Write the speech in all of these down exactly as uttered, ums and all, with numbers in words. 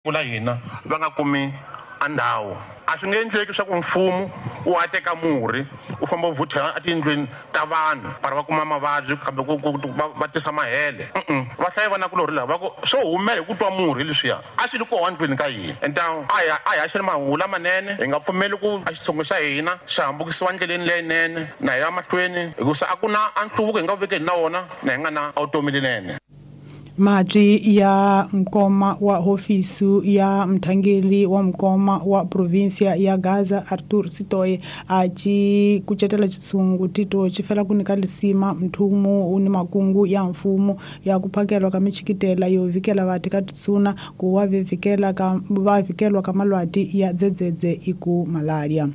La hina va nga kumi a ndhawu a swi nge endleki swa ku mfumo wu a teka murhi u famba u vhuthela etindlwini ta vanhu para va kuma mavabyi kambe va tisa mahele. Va hlayi vanakulorhi lava va ku swo humela hi ku twa murhi leswiya a swi li kona ndlwini ka hina. Entawu a hi a hi haxeni mahungu lamanene, hi nga pfumeli ku a xitshungu xa hina xi hambukisiwa ndleleni leyinene na hi ya mahlweni hikusa a ku na a nhluvuko hi nga vekeni na wona na hi nga na vutomi leyinene. Madzi ya mkoma wa hofisu ya mthangeli wa mkoma wa provincia ya Gaza Arthur Sitoe achi kuchetela chitsungu tito chifela kunika lisima mthumu uni makungu ya mfumo ya kuphakelwa ka michikitela yo vikela vati ka tsuna ku wa vikela ka va vikelwa ka malwati ya dzedzedze iku malaria.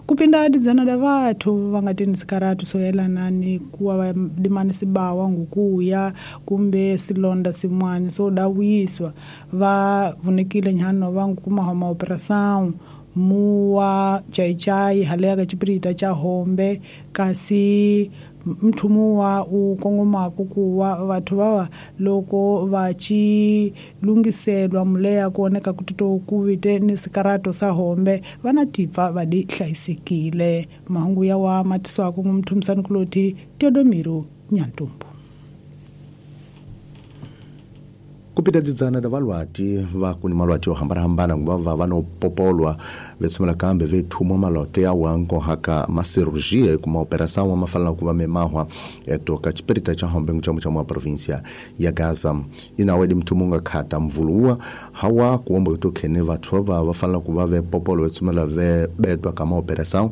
Kupinda dzana da vathu va nga teni sikaratu so yelana ni kuwa va dimani sibawa ngukuya kumbe silonda simwani so dawiswa va vunekile nyano va ngukuma homa operação muwa chaichai halea ka chiprita cha hombe kasi mthumuwa u kongomako kuwa vathu vava loko va chi lungiselwa muleya kuoneka kutito kuvite ni sikarato sa hombe vana tipfa va di hlayisekile. Mahungu ya wa matiswako ngumthumisani kuloti Teodomiro Nyantumbu. Kupita dzana da valwati va kuni malwati yo hambanahambana nguva va va no popolwa vetsumela kambe vethumwa maloto ya wanko haka masirurgia kuma operação wa mafala kuva memahwa etoka chipirita cha hombe nchamu cha mwa provincia ya Gaza inawedi mthumunga khata mvuluwa hawa kuomba kutokhene vathu va va fanela kuva ve popolwa vetsumela ve betwa kama operação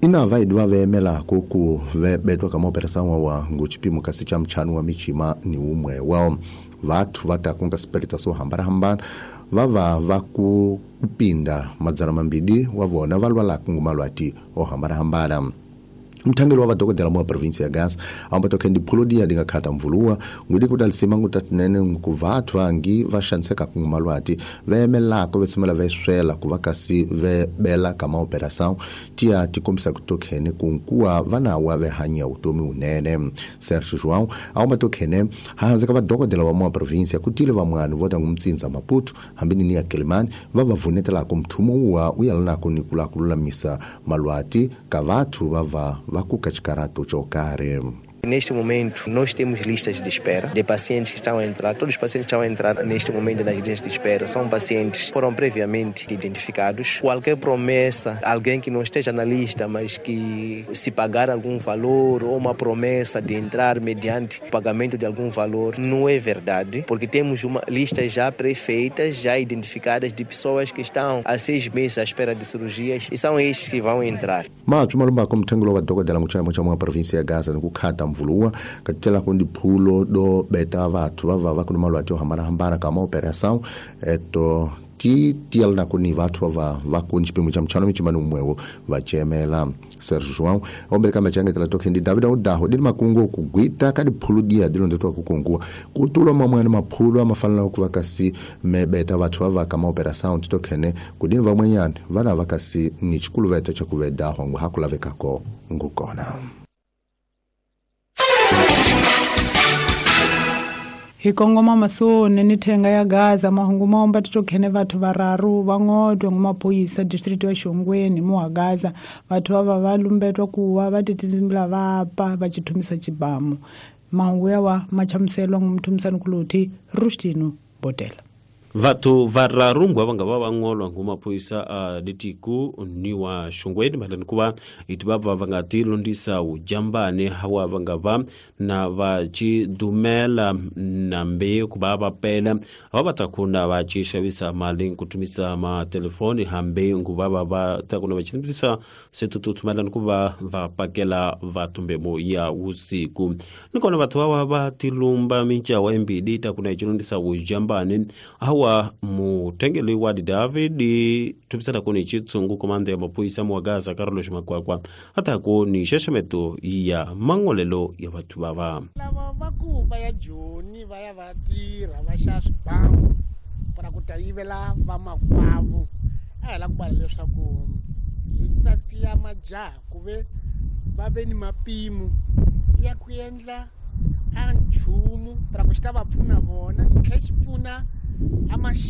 ina vaidi va vemela kuku ve betwa kama operação wa nguchipimo kasi cha mchanu wa michima ni umwe wao vathu va ta kunga sipirita swo hambanahambana va va va ku kupinda madzana mambili wa vona va lwalaka ngumalwati o hambanahambana. Mthangeli wa vadokodela mwa provincia ya Gaza amba tokendi pholodia dinga khata mvuluwa ngudi kudalisima ngutatinene ku vathu vangi va xaniseka ku malwati va yemelaka va tshimela va swela ku va kasi ve bela kama operação tia tikombisa ku tokhene ku nkuwa vana wa ve hanya utomi unene. Sergio João amba tokhene hanze ka vadokodela wa mwa provincia kutile vamwani vota ngumtsinza Maputo hambi ni ya Kelimani va va vunetela ku mthumo wa uyalana ku nikula kululamisa malwati ka vathu va va vakuka chikarato chokare. Neste momento, nós temos listas de espera de pacientes que estão a entrar. Todos os pacientes que estão a entrar neste momento nas listas de espera são pacientes que foram previamente identificados. Qualquer promessa, alguém que não esteja na lista, mas que se pagar algum valor ou uma promessa de entrar mediante o pagamento de algum valor, não é verdade, porque temos uma lista já pré-feita, já identificadas de pessoas que estão há seis meses à espera de cirurgias e são estes que vão entrar. Mas, malumba como tengolo wa dokodela nguchaya mocha mwa província ya Gaza nikukhata mvuluwa katela kundi phulo do beta vathu va va va kuna malwati yo hambanahambana kama operação eto ti tiel na kuni vathu va va kuni xipimo xa mchano michimani umwewo va chemela. Sergio João ombele kama changetela tokhendi David Odaho dili makungu kugwita ka diphulu dia dilondetwa kukunguwa kutulwa mamwani maphulu amafanela ku va kasi mebeta vathu va va kama operação titokhene kudini vamwenyani vana va kasi ni chikuluveta cha kuvedaho ngu hakulavekako ngukona. Hi kongoma masone ni thenga ya Gaza mahungu maomba titokhene vathu vararu vangodwa ngumaphoyisa district ya Shongweni muwa Gaza vathu vava va lumbetwa kuwa va titizimbila vapa va chithumisa chibamu. Mahungu yawa machamuselwa ngumthumisani kuloti Rustino Botela. Vathu vararu ngwa vanga va vangolwa ngumaphoyisa a litiku ni wa Shongweni malani kuva iti vabva va nga ti londisa ujambani hawa vanga va na va chidumela na mbe kuva va pela va va ta kuna va chi xavisa mali kutumisa matelefoni hambe nguva va va ta kuna va chitumisa setutu malani kuva va pakela vatumbemo ya usiku nikona vathu va va tilumba minchawa embili ta kuna ichilondisa ujambani hawa mutengeli wa David tupisana kuni chitsungu komando ya maphoyisa mwa Gaza Carlos Makwakwa hata ku ni xexemeto ya mangolelo ya vathu vava lava va ku va ya Joni va ya va tirha va xa swibamu para ku ta yivela vamakwavo a hi la ku bala leswaku hi tsatsiya majaha ku ve va ve ni mapimo ya ku endla a nchumu para ku xi ta va pfuna vona xi tlhela xi pfuna amaxaka.